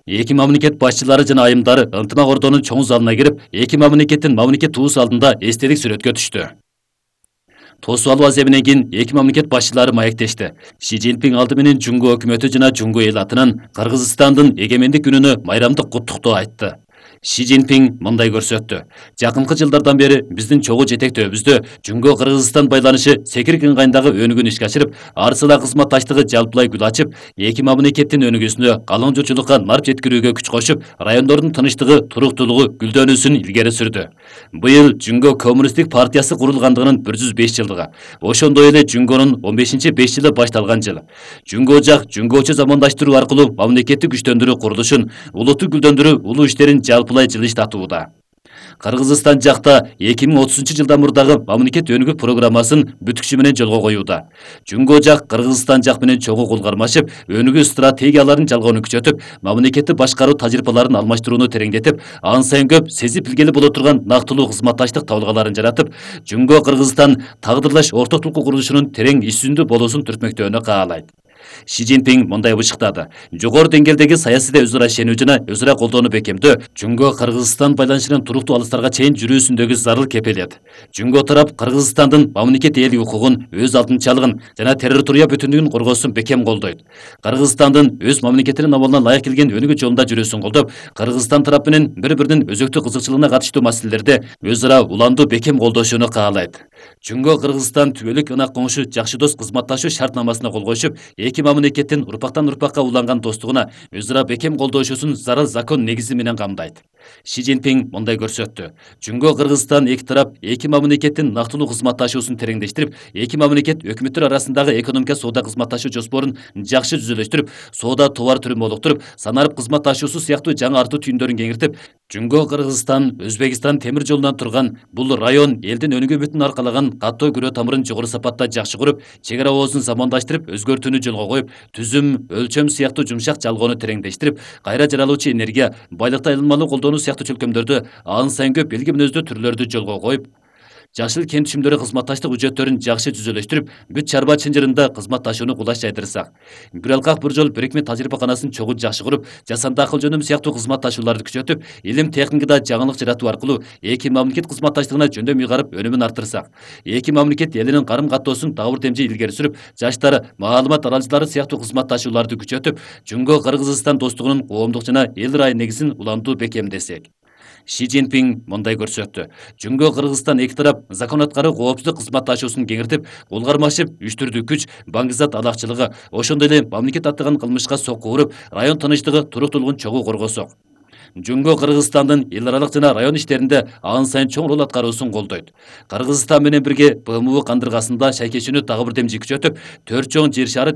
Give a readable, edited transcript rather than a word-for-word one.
Эки мамлекет башчылары жана айымдары ынтымак ордонун чоң залына кирип, эки мамлекеттин мамлекет туус алдында эстелик сүрөткө түштү. Тосуп алуу азебинен кийин эки мамлекет башчылары маектешти. Си Цзиньпин алды менен Жунго өкмөтү жана Жунго эл атынан Кыргызстандын эгемендик күнүнө майрамдык куттуктоо айтты. Си Цзиньпин мындай көрсөттү. Жакынкы жылдардан бери биздин чогуу жетектөөбүздө Жунго Кыргызстан байланышы секирик ыңгайындагы өнүгүүнү ишке ашырып, арсыла кызматташтыгы жалпылай гүл ачып, эки мамлекеттин өнүгүүсүнө калың журтчулукка нарп жеткирүүгө күч кошуп, райондордун тынчтыгы, туруктуулугу, гүлдөнүүсүн илгери сүрдү. Быйыл Жунго коммунисттик партиясы курулгандыгынын 105 жылдыгы. Ошондой эле Жунгонун 15-5 жылы башталган жыл. Жунго жак Жунгочу замандаштыруу аркылуу мамлекеттик күчтөндүрүү курулушун, улутту гүлдөндүрүү улуу иштерин жалпылай жылыштатууда. Кыргызстан жакта 2030-жылдан мурдагы мамлекет өнүгүү программасын бүткүчү менен жолго коюуда. Жунго жак Кыргызстан жак менен чогуу кол кармашып, өнүгүү стратегияларын жалгоону күчөтүп, мамлекетти башкаруу тажрыйбаларын алмаштырууну тереңдетип, ан сайын көп сезип билгели боло турган нактылуу кызматташтык табылгаларын жаратып, Жунго Кыргызстан тагдырлаш ортоктулук курулушунун терең ишсүндүү болуусун түртмөктөөнү каалайт. Си Цзиньпин мындай бышыктады. Жогору деңгээлдеги саясийде өзара ишенүү жана өзара колдоону бекемдөө Жунго Кыргызстан байланышынын туруктуу алыстарга чейин жүрүүсүндөгү зарыл кепилет. Жунго тарап Кыргызстандын мамлекет эл укугун, өз алдынчалыгын жана территория бүтүндүгүн коргоосун бекем колдойт. Кыргызстандын өз мамлекетинин абалына ылайык келген өнүгүү жолунда жүрүүсүн колдоп, Кыргызстан тарап менен бири-биринин өзөктүк кызыкчылыгына катыштуу маселелерде өзара уламдуу бекем колдошууну каалайт. Жунго Кыргызстан түбөлүк ынак коңшу жакшы дос кызматташуу шартнамасына кол коюшуп, эки мамлекеттин урпактан урпакка уланган достугуна өзара бекем колдошуусун зарыл закон негизи менен камдайт. Си Цзиньпин мындай көрсөттү. Жунго Кыргызстан эки тарап эки мамлекеттин нактылуу кызматташуусун тереңдештирип, эки мамлекет өкмөттөр арасындагы экономика соода кызматташуу жоспорун жакшы түзүлүштүрүп, соода товар түрүн молуктуруп, санарып кызматташуусу сыяктуу жаңы артуу түйүндөрүн кеңиртип, Жунго Кыргызстан Өзбекстан темир жолунан турган бул район элдин өнүгүү бүтүн аркалаган каттоо күрөө тамырын жогору сапатта жакшы куруп, чек ара оозун замандаштырып, өзгөртүүнү жолго коюп, түзүм, өлчөм сыяктуу жумшак жалгоону тереңдештирип, кайра жаралуучу энергия, байлыкты айылмалуу колдонуу сыяктуу чөлкөмдөрдү ан сайын көп белги мүнөздүү түрлөрдү жолго коюп, жашыл кент түшүмдөрү кызматташтык үчөттөрүн жакшы түзүлүштүрүп, бүт чарба чынжырында кызматташууну кулаш жайдырсак, бир алкак бир жол бирикме тажрыйбаканасын чогуу жакшы куруп, жасанды акыл жөнүм сыяктуу кызматташууларды күчөтүп, илим техникада жаңылык жаратуу аркылуу эки мамлекет кызматташтыгына жөндөм ыйгарып өнүмүн арттырсак, эки мамлекет элинин карым каттоосун дагы бир демжи илгери сүрүп, жаштар маалымат аралыштары сыяктуу кызматташууларды күчөтүп, Жунго Кыргызстан достугунун коомдук жана эл ырайы негизин уламдуу бекемдесек. Си Цзиньпин мындай көрсөттү. Жунго Кыргызстан эки тарап закон аткаруу коопсуздук кызматташуусун кеңиртип, кол кармашып, үчтүрдүү күч, баңгизат алакчылыгы, ошондой эле мамлекет аттаган кылмышка сокку уруп, район тынчтыгы, туруктуулугун чогуу коргосок. Жунго Кыргызстандын эл аралык жана район иштеринде ан сайын чоң роль аткаруусун колдойт. Кыргызстан менен бирге БМУ кандыргасында шайкешүүнү дагы бир демжи күчөтүп, 4 чоң жер шаары